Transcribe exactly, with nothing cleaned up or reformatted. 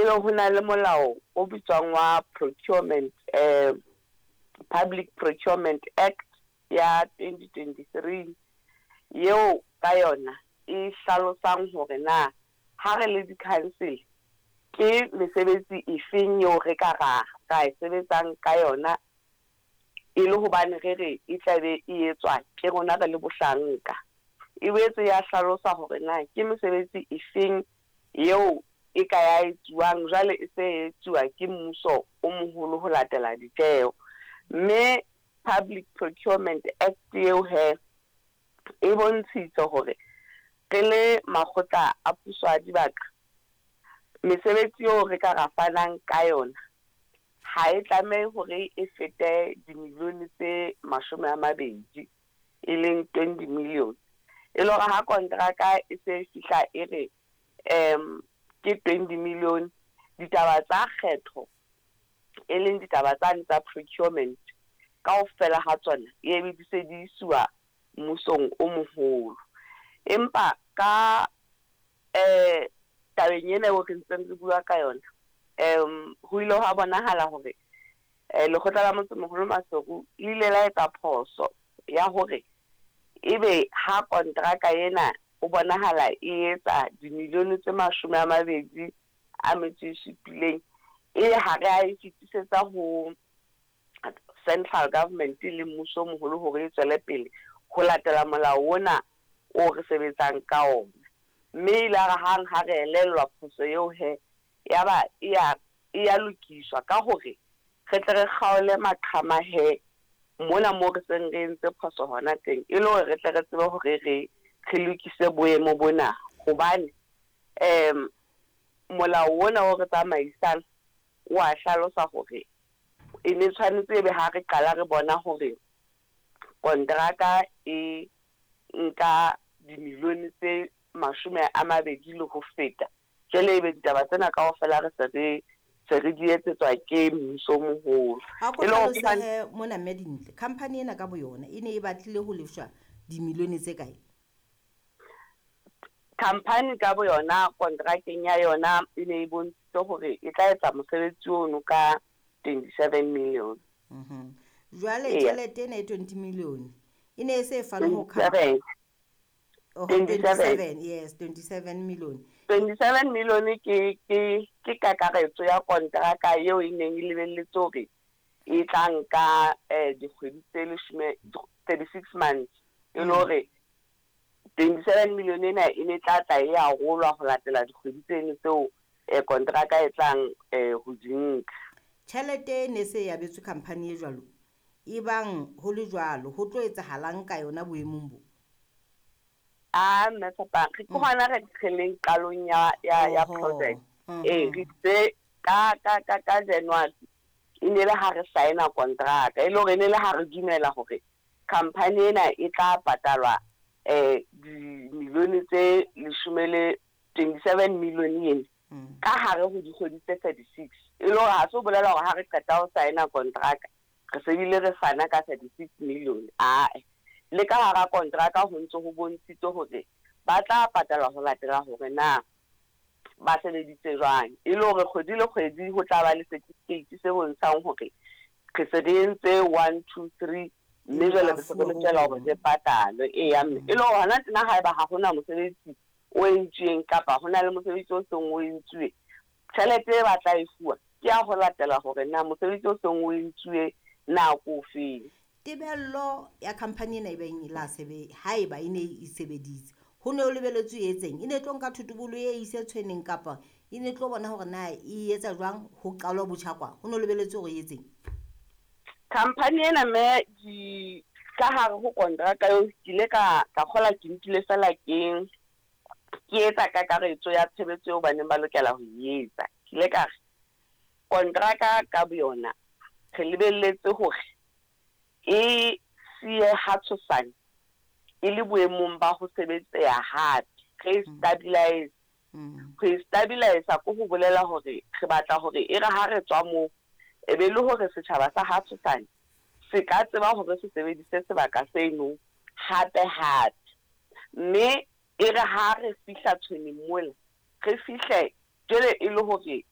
Ebe ho na le molao o bitswang wa procurement, eh Public Procurement Act ya twenty twenty-three, eo ka yona e hlalosang hore na ha re le di-council ke mesebetsi efeng eo re ka ra ra e sebetsang ka yona, e le hobane re re e tlabe e etswa ke rona re le bohlanka. E boetse ya hlalosa hore na ke mesebetsi efeng eo e ka ya etsuwang jwale e se etsuwa ke mmuso o moholo ho latela ditjeho. Mme Public Procurement Act eo he e bontshitse hore re le makgotla a puso a dibaka, mesebetsi eo re ka ra fanang ka yona ha e tlamehe hore e fete dimilione tse mashome a mabedi, e leng twenty million. E le hore ha kontraka e se fihla e re um ke twenty million, ditaba tsa kgetho e leng ditaba tsane tsa procurement kaofela ha tsona e be di se di isuwa mmusong o moholo. Empa ka eh tabeng ena eo re ntseng re bua ka yona, um ho ile hwa bonahala hore eh lekgotla la motsemoholo Maseru le ile la etsa phoso ya hore ebe ha kontraka ena ho bonahala e etsa dimilione tse mashome a mabedi a metso e supileng, e ha re a e fetisetsa ho central government le mmuso o moholo hore e tswele pele ho latela molao ona o re sebetsang ka ona. Mme ile re hang ha re elellwa phoso eo he, ya ba e ya e ya lokiswa ka hore re tle re kgaole maqhama he mona moo re seng re entse phoso hona teng, e le hore re tle re tsebe hore re re lokise boemo bona. Hobane um molao ona o re tsamaisang wa hlalosa hore e ne tshwanetse ebe ha re qala re bona hore kontraka e nka dimilione tse mashome a mabedi le ho feta, jwale ebe ditaba tsena kaofela re se re se re di etsetswa ke mmuso o moholo. Ha ko E le hore hlalose he mona mme Dintle, company ena ka boyona e ne e batlile ho lefshwa dimilione tse kae? Company ka boyona kontrakeng ya yona e ne e bontshitse hore e tla etsa mosebetsi ono ka twenty-seven million. Mhm. Jwale Eya. tjhelete ena e twenty million e ne e se e fanwe ho Twenty-seven. Oh, twenty-seven. twenty-seven, yes, twenty-seven million. twenty-seven million ke ke ke kakaretso ya kontraka eo e neng e lebelletse hore e tla nka eh dikgwedi tse leshome, thirty-six months. E le hore twenty-seven million ena e ne tla tla e arolwa ho latela dikgwedi tseno tseo eh kontraka e tlang eh ho di nka. Tjhelete e ne se e abetswe company e jwalo, e bang ho le jwalo, ho tlo etsahalang ka yona boemong bo? Ah, mme Tshepang, re ke hona re re leng qalong ya ya ya Oho, project. mhm. Eh, re itse ka ka ka ka January e ne le ha re sign-a kontraka, e le hore e ne le ha re dumela hore company ena e tla patalwa eh dimilione tse leshome le twenty-seven million ena Mm. ka hare ho dikgwedi tse thirty-six. E le hore ha se ho bolela hore ha re qeta ho sign-a kontraka re se bile re fana ka thirty-six million. Ae, le ka hara kontraka ho ntse ho bontshitswe hore ba tla patalwa ho latela hore na ba sebeditse jwang. E le hore kgwedi le kgwedi ho tla ba le certificate se bontshang hore re se re entse one, two, three, mme jwale re se re lokela hore re patalwe. Eya mme, e le hore hona tjena haeba ha hona mosebetsi o entsweng kapa hona le mosebetsi o seng o entsuwe, tjhelete e ba tla e fuwa ke ya ho latela hore na mosebetsi o seng o entsuwe na ke ofeng. Tebello ya company ena e beng la sebe haeba e ne e sebeditse, ho ne ho lebelletswe e etseng? E ne tlo nka thotobolo e ise tshweneng kapa e ne tlo bona hore na e etsa jwang ho qalwa botjha kwa? Ho ne ho lebelletswe hore e etseng? Company ena mme di ka hare ho kontraka eo ke ile ka ka kgola ke nkile fela ke ke etsa kakaretso ya tshebetso eo ba neng ba lokela ho e etsa. Ke ile ka re kontraka ka boyona re lebelletse hore e siye ha tshosane e le boemong ba ho sebetseha hape, re e stabilize. Mm. Ho e stabilize ko ho bolela hore re batla hore e re ha re tswa moo e be le hore setjhaba sa ha tshosane se ka tseba hore se sebedise sebaka seno hape hape. Mme e re ha re fihla tshweneng mola, re fihle jwale e le hore